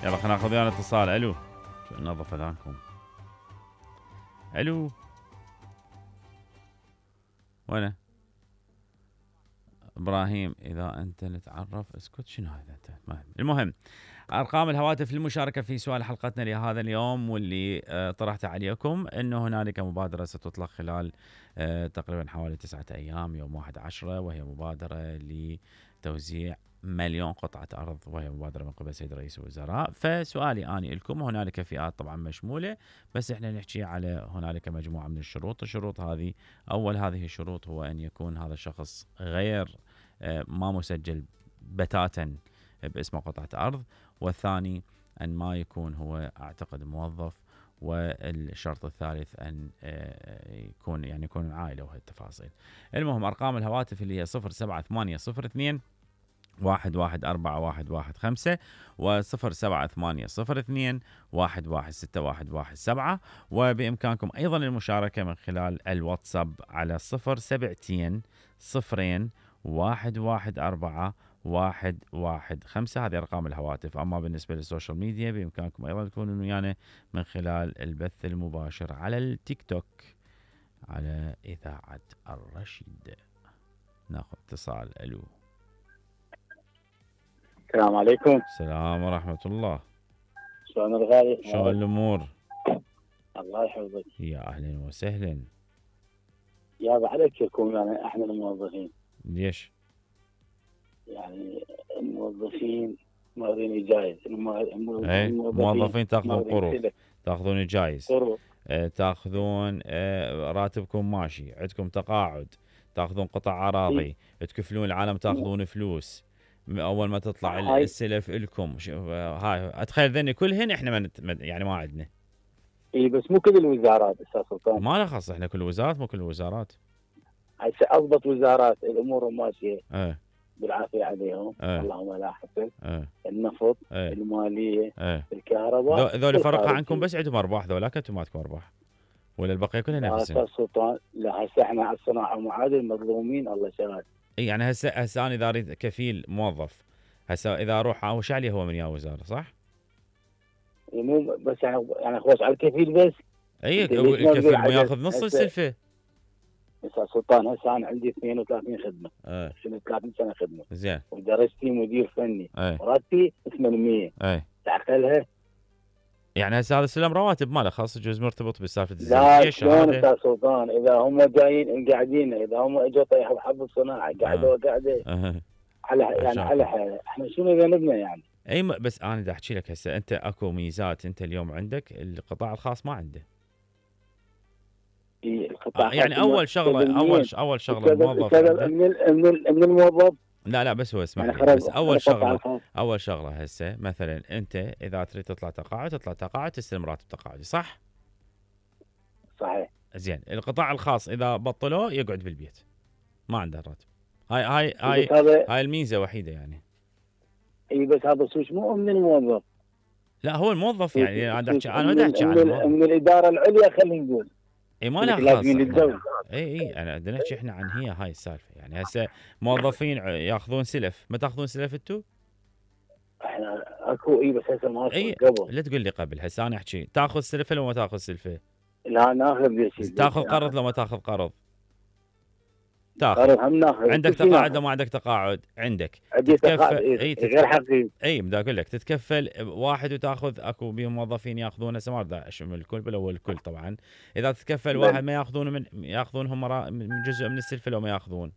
يلا خلينا ناخذ ويانا اتصال. الو، شو نظف اذانكم. الو، وينه؟ ابراهيم اذا انت نتعرف اسكت. شنو هذا انت؟ المهم ارقام الهواتف للمشاركه في سؤال حلقتنا لهذا اليوم واللي طرحته عليكم انه هنالك مبادره ستطلق خلال تقريبا حوالي 9 ايام يوم 1/10، وهي مبادره لتوزيع 1,000,000 قطعه ارض، وهي مبادره من قبل سيد رئيس الوزراء. فسؤالي اني لكم، هنالك فئات طبعا مشموله، بس احنا نحكي على هنالك مجموعه من الشروط. الشروط هذه، اول هذه الشروط هو ان يكون هذا الشخص غير ما مسجل بتاتا باسم قطعة أرض، والثاني أن ما يكون هو أعتقد موظف، والشرط الثالث أن يكون عائلة وهي التفاصيل. المهم أرقام الهواتف اللي هي 07802 114115 و07802 116117، وبإمكانكم أيضا المشاركة من خلال الواتساب على 072 0 114 115. هذه أرقام الهواتف. أما بالنسبة للسوشيال ميديا بإمكانكم أيضا تكونوا ويانا من خلال البث المباشر على التيك توك على إذاعة الرشيد. ناخذ اتصال. ألو، السلام عليكم. السلام ورحمة الله. شلون الغالي؟ شلون الأمور؟ الله يحفظك. يا أهلا وسهلا. يا بعد أذكركم يعني احنا الموظفين. ليش؟ يعني الموظفين ماخذين جايز. الموظفين تاخذون قروض، تاخذون جايز، تاخذون راتبكم ماشي، عندكم تقاعد، تاخذون قطع اراضي، تكفلون العالم، تاخذون فلوس اول ما تطلع السلف لكم. هاي اتخيل ذني كلهن احنا يعني ما عندنا. اي بس مو كل الوزارات استاذ سلطان. ما له خص، احنا كل الوزارات مو كل الوزارات. هسه اضبط وزارات الامور ماشيه بالعافيه عليهم. اللهم لا حسن. النفط، الماليه، الكهرباء، ذول فرق عنكم بس عندهم ارباح، ذولاك انتم ما عندكم ارباح ولا البقيه كلها نفسهم. استاذ سلطان لا، هسه احنا على الصناعه معادل مظلومين الله شهاد. اي يعني هسه انا اذا اريد كفيل موظف، هسه اذا اروح وش عليه هو من يا وزاره صح؟ مو بس يعني خوش على الكفيل بس. اي الكفيل مو ياخذ نص السلفه. استاذ سلطان هسه انا عندي 32 خدمه. 30 سنه خدمه. زين. ودرستي مدير فني. راتبي 800. تعقلها؟ يعني هسه هذا سلم رواتب ما له خاص، جزء مرتبط بسالفه الزواج. لا شلون استاذ سلطان؟ اذا هم جايين قاعدين، اذا هم اجوا طيحوا حب الصناعه قعدوا قاعده على يعني على احنا شنو ذنبنا يعني؟ اي بس انا بدي احكي لك هسه انت اكو ميزات انت اليوم عندك القطاع الخاص ما عنده. القطاع يعني اول شغله الموظف من الموظف. لا بس هو اسمح لي، بس اول شغله هسه مثلا انت اذا تريد تطلع تقاعد تستلم راتب تقاعدي صح؟ صحيح. زين. القطاع الخاص اذا بطلوه يقعد بالبيت ما عنده راتب. هاي الميزه وحيده يعني. اي بس هذا السوش مو من الموظف. لا هو الموظف يعني انا ما احكي عن من الاداره العليا خلينا نقول. اي ما لها خاص. اي انا بدنا نحكي احنا عن هاي السالفه. يعني هسه موظفين ياخذون سلف، ما تاخذون سلف انتم؟ احنا اكو بس هسه ما قبل. لا تقول لي قبل، هسه انا احكي تاخذ سلفه لو ما تاخذ سلفه؟ لا ناخذ يا سيدي. تاخذ قرض لو ما تاخذ قرض؟ تاخذ. هم ناخذ. عندك تقاعد لو ما عندك تقاعد؟ عندك. عندي تقاعد غير حقيقي. اي بدي اقول لك تتكفل واحد وتاخذ. اكو بهم موظفين ياخذون هسه ما بدي اشمل الكل بل هو الكل طبعا. اذا تتكفل واحد ما ياخذونهم من جزء من السلفه لو ما ياخذون؟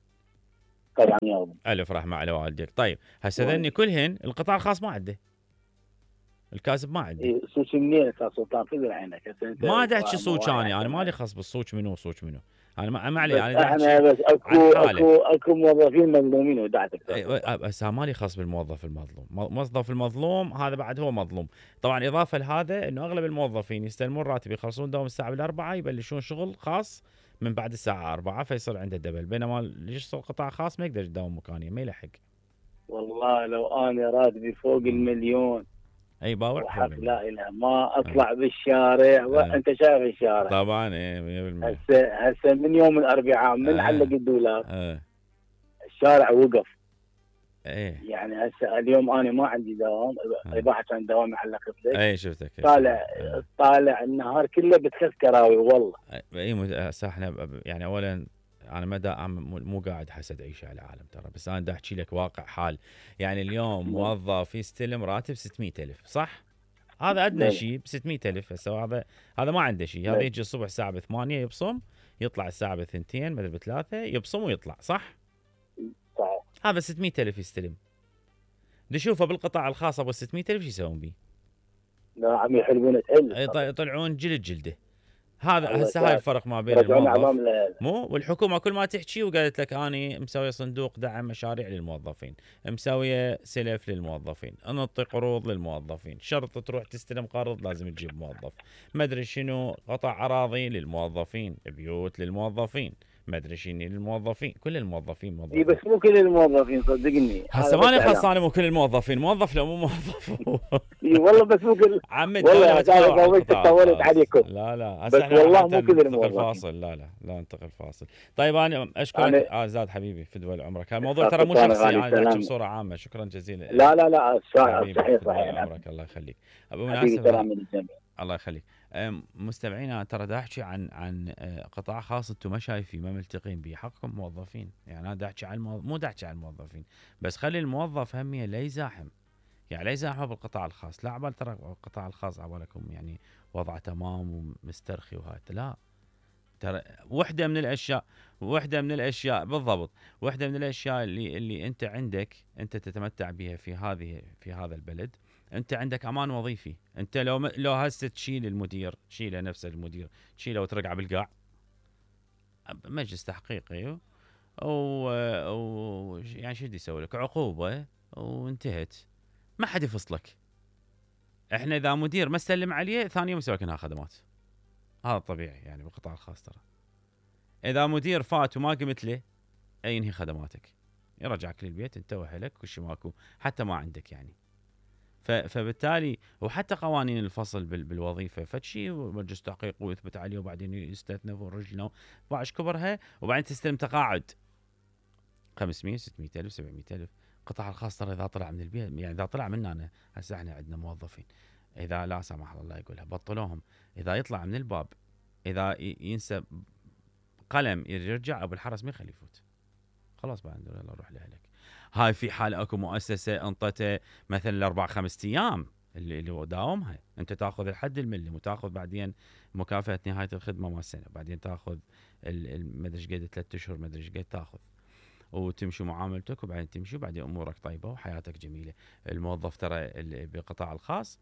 طبعا ياخذون. الف رحمه على والديك. طيب هسه ذني كلهن القطاع الخاص ما عنده، الكاسب ما عنده. صوت منين استاذ سلطان؟ خذ عينك. ما ادري احكي صوت انا مالي خص بالصوت منو صوت منو. انا ما علي. انا بس اكو موظفين مظلومين ودعتك. بس مالي خاص بالموظف المظلوم. موظف المظلوم هذا بعد هو مظلوم طبعا. اضافه لهذا انه اغلب الموظفين يستلمون راتب، يخلصون دوام الساعه 4 يبلشون شغل خاص من بعد الساعه 4 فيصير عنده دبل، بينما اللي يشتغل قطاع خاص ما يقدر يداوم مكانيه ما يلحق. والله لو انا راتبي فوق المليون اي باوع وحق لا اله ما اطلع بالشارع. وانت شايف الشارع طبعا. 100%. هسه من يوم الاربعاء من علق الدولار الشارع وقف. ايه يعني هسه اليوم انا ما عندي دوام، اذا كان دوامي علقت لك. اي شفتك طالع النهار كله بتخف كراوي والله. اي احنا يعني اولا انا ما مو قاعد حسد عيشه على العالم ترى، بس انا دا احكي لك واقع حال. يعني اليوم موظف يستلم راتب 600,000 صح؟ هذا ادنى شيء ب 600,000. هسه هذا ما عنده شيء، هذا يجي الصبح الساعه 8 يبصم، يطلع الساعه 2 مدري 3 يبصم ويطلع صح؟ صحيح. هذا 600,000 يستلم. نشوفه بالقطاع الخاص ابو 600,000 شو يسوون به؟ لا عم يحلبون يطلعون جلده. هذا هسه هاي الفرق ما بين الموظف مو والحكومه. كل ما تحكي وقالت لك اني مسويه صندوق دعم مشاريع للموظفين، مسويه سلف للموظفين، انطي قروض للموظفين، شرط تروح تستلم قرض لازم تجيب موظف، ما ادري شنو، قطع اراضي للموظفين، بيوت للموظفين، ما ادري شنو للموظفين، كل الموظفين موظفين. اي بس مو كل الموظفين صدقني. هسه ماني خلصانه مو كل الموظفين، موظف لو مو موظف. اي والله بس مو كل. عم الدوله طولت عليكم. لا بس والله مو كل الموظفين. فاصل لا انتقل فاصل. طيب انا اشكرك زاد حبيبي في دول عمرك. الموضوع ترى مو شخصي، انا احكي بصوره عامه. شكرا جزيلا. لا صحيح عمرك الله يخليك. بالمناسبه الله يخليك مستمعينا، ترى دا احكي عن قطاع خاص انتم ما شايفين ما ملتقين به، حقكم موظفين. يعني انا دا احكي عن مو دا احكي عن الموظفين بس، خلي الموظف هميه لا يزاحم، يعني لا يزاحموا بالقطاع الخاص. لا عبال ترى القطاع الخاص عبالكم يعني وضعه تمام ومسترخي وهذا، لا ترى وحده من الاشياء بالضبط، وحده من الاشياء اللي انت عندك، انت تتمتع بها في هذا البلد. انت عندك امان وظيفي. انت لو هسه تشيل المدير، تشيله نفسه المدير، تشيله وترقع بالقاع مجلس تحقيقي يعني شو بدي يسوي لك؟ عقوبه وانتهت، ما حد يفصلك. احنا اذا مدير ما استلم عليه ثاني يوم يسوي لك انها خدمات، هذا طبيعي يعني بالقطاع الخاص. ترى اذا مدير فات وما قمت له ينهي خدماتك، يرجعك للبيت انت واهلك وش ماكو، حتى ما عندك يعني. فبالتالي وحتى قوانين الفصل بالوظيفه فشي مجلس تحقيق ويثبت عليه وبعدين يستثنى ورجله باعش كبرها، وبعدين تستلم تقاعد 500 600,000 700,000. القطاع الخاص ترى اذا طلع من البيت، يعني اذا طلع منا انا هسه احنا عندنا موظفين اذا لا سمح الله يقولها بطلوهم، اذا يطلع من الباب، اذا ينسى قلم يرجع ابو الحرس ما يخليه يفوت، خلاص بعد يلا روح لاهلك. هاي في حال اكو مؤسسه انطته مثلا 4-5 ايام اللي داومها، انت تاخذ الحد الملي وتاخذ بعدين مكافاه نهايه الخدمه مال السنه، بعدين تاخذ ما ادري ايش قد 3 اشهر ما ادري ايش قد تاخذ، وتمشي معاملتك وبعدين تمشي وبعدين امورك طيبه وحياتك جميله. الموظف ترى بالقطاع الخاص